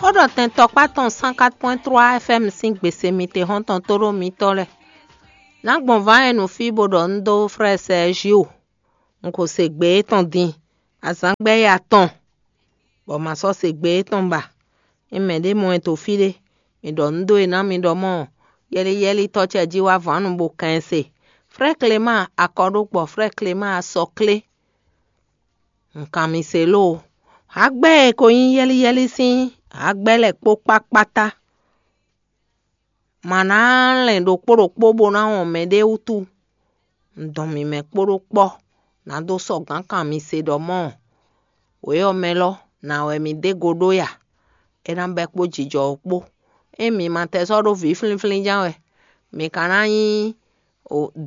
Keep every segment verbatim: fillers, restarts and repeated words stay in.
Xó ɖɔ tɛn tɔkpá tɔn cent quatre point trois F M sín gbèsè mitexɔ́ntɔn tóɖó mitɔ́ lɛ́ɛ. Nǎ gbɔn vǎn e nǔ fí bó ɖɔ un dó frɛ́ Sɛɛzio. Un ko se gbe étɔn din, azǎn gbɛ́ ya tɔn, bɔ ma sɔ́ se gbe étɔn ba. Ényí mɛɖé mɔ ɛ to fí ɖé, mǐ ɖɔ nǔ dó e ná mi ɖɔ mɔ́, yɛ́lí yɛ́lí tɔ́ ce jí wá vǎn nu bó kɛn ɛ se. Frɛ́ Klemáa akɔɖógbɔ, frɛ́ Klemáa asɔklé. Un kan mi se lóo. Hagbɛ́ e ko nyí yɛ́lí yɛ́lí sín hagbɛ́ lɛ́ɛ kpó kpákpátá. Ma ná lɛn ɖokpó ɖokpó bó ná wɔn mɛɖé wútu. Un dɔn mǐmɛ́ kpó ɖó kpɔ́, nǎ dó sɔ́ gǎn kan mi se ɖɔ mɔ́, wě ɔ́ mɛ lɔ, nǎ wɛ mi dó go ɖó ya. É ná bɛ́ kpó jijɔ ɔ́ kpó. Ényí mi ma tɛ sɔ́ ɖó vǐ flínflín ján wɛ, mi ka ná nyí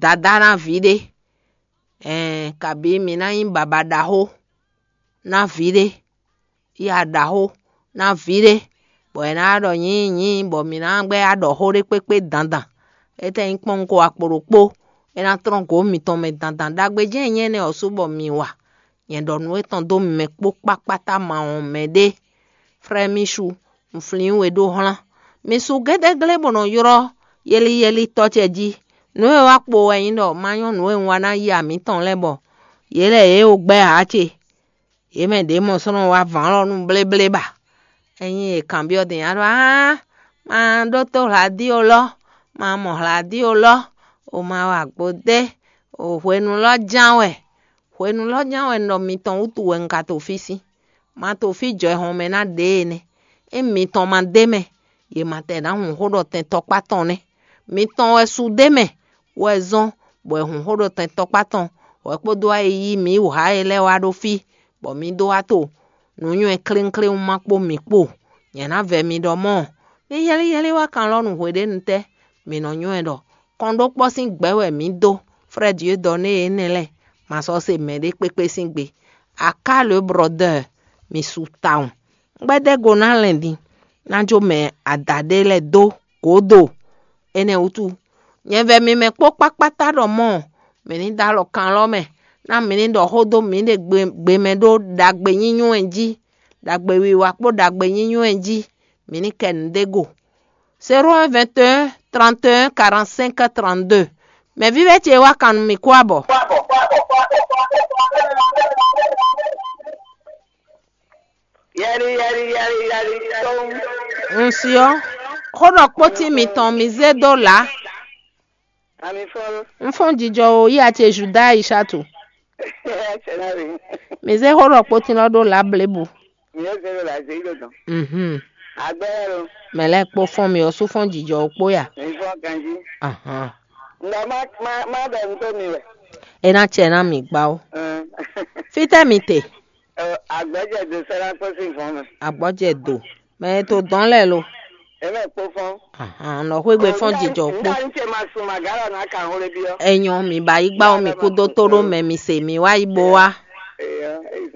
dadá ná vǐ ɖé, ɛɛn, kabǐ mi ná nyí baba ɖaxó ná vǐ ɖé, ya ɖaxó ná vǐ ɖé, bɔ è nǎ ɖɔ nyǐnyínyí, bɔ mǐ ná gbɛ́ ya ɖɔ xó ɖé kpékpé dandan. Étɛ́ nyí kpɔ́n un ko akpo ɖokpó, é ná tlɔ́n gǒ mitɔn mɛ dandan. Ɖagbe jɛ́n nyí énɛ́ ɔ́ sú bɔ mi wa. Nyɛ ɖɔ nǔ étɔn dó mi mɛ kpó kpákpátá ma wɔn mɛɖé. Frɛ́ Mísu, un flín we ɖó hlán. Mi su gédéglé bó nɔ ylɔ́ yɛ́líyɛ́lí tɔ́ ce jí. Nǔ e wá kpo wɛ nyí ɖɔ ma nyɔ́ nǔ e un wa ná yi amǐtɔn lɛ́ɛ bɔ yě lɛ́ yě o gbɛ́ ǎ ce. Yě mɛ ɖě mɔ sɔ́ nɔ wá vǎn lɔ nú bléblé ba. Ényí è kanbyɔ́ din ǎ ɖɔ áá, ma ɖótó hlǎdío lɔ, ma mɔ hlǎdío lɔ, o ma wa gbo dé, o hwenu lɔ ján wɛ. Hwenu lɔ ján wɛ un ɖɔ mitɔn wútu wɛ un ka to fí sín. Ma to fí jɔ hɔn mɛ ná ɖě e nɛ́. Ényí mitɔn ma d'é mɛ, yě ma tɛ ná hun xó ɖɔ tɛn tɔkpá tɔn nɛ́. Mitɔn wɛ su d'é mɛ, wɛ zɔ́n bɔ è hun xó ɖɔ tɛn tɔkpá tɔn, wɛ kpódó wá yi yí mǐ wǔ xá e lɛ́ɛ wá ɖó fí, bɔ mǐ dó wá to nǔ nywɛ́ kléwúnkléwún ma kpó mǐ kpo. Nyɛ ná vɛ mi ɖɔ mɔ́, ní yɛ́líyɛ́lí wá kan lɔ nú hweɖénu tɛ́, mǐ nɔ nywɛ́ ɖɔ kɔnɖókpɔ́ sín gbɛ̌ wɛ mǐ dó. Frɛ́ Dieu dɔ nú énɛ́ lɛ́ɛ, ma sɔ́ se mɛɖé kpékpé sín gbe. Aká le brɔdɛ́ɛ, mi su tawun. Gbɛ́dɛ́go ná lɛn din, ná jó mɛ ada ɖé lɛ́ɛ dó gǒdo. Énɛ́ wútu, nyɛ vɛ mi mɛ kpó kpákpátá ɖɔ mɔ́, mǐ ní dó alɔ kan lɔ mɛ, ná mǐ ní ɖɔ xó dó mǐɖée gbe mɛ ɖó ɖagbe nyínywɛ́n jí, ɖagbe wiwa kpó ɖagbe nyínywɛ́n jí, mǐ ní kɛ nǔɖé go. Zéro un vingt et un trente et un quarante-cinq trente-deux. Mɛ vívɛ́ ce wá kan nú mì kú abɔ. Yɛli yɛli yɛli yɛli tɔn. Un si ɔ́, xó ɖɔ kpótín mitɔn mi zé dó lǎ. Ami fɔlɔ. Un fɔ́n jijɔ o, yí a ce Juda Aishatu. Sɛnari. Mi zé xó ɖɔ kpótín lɔ ɖó lǎ blebu. Mi yɛ zé ɖo la zé ɖo dɔn. Mhm. Agbɛ lo. Mɛ lɛ́ɛ kpó fɔ́n mi ɔ́ sú fɔ́n jijɔ o kpó ya. Mi fɔn ganji. Ahan. Nga ma ma ma bɛ ŋutɔ mi wɛ. É ná cɛ ná mi gbá ó. Ɛn. Fítɛ́ mi te? Ɛ, agbɛjɛ do sɛlá kpó sí nǹkan mɛ. Agbɔjɛ do. Mɛ e to dɔn lɛ lo. Èmi kpó fɔn. Ahan, nɔ xwé gbe fɔ́n jijɔ kpó. Nígbà tí ma sùn màgá lọ náà kà ń wọlé bí ọ. Ẹ̀yàn mi bá yí gbá omi kú dó tó ɖó mɛ mi se mi wá yí bó wá.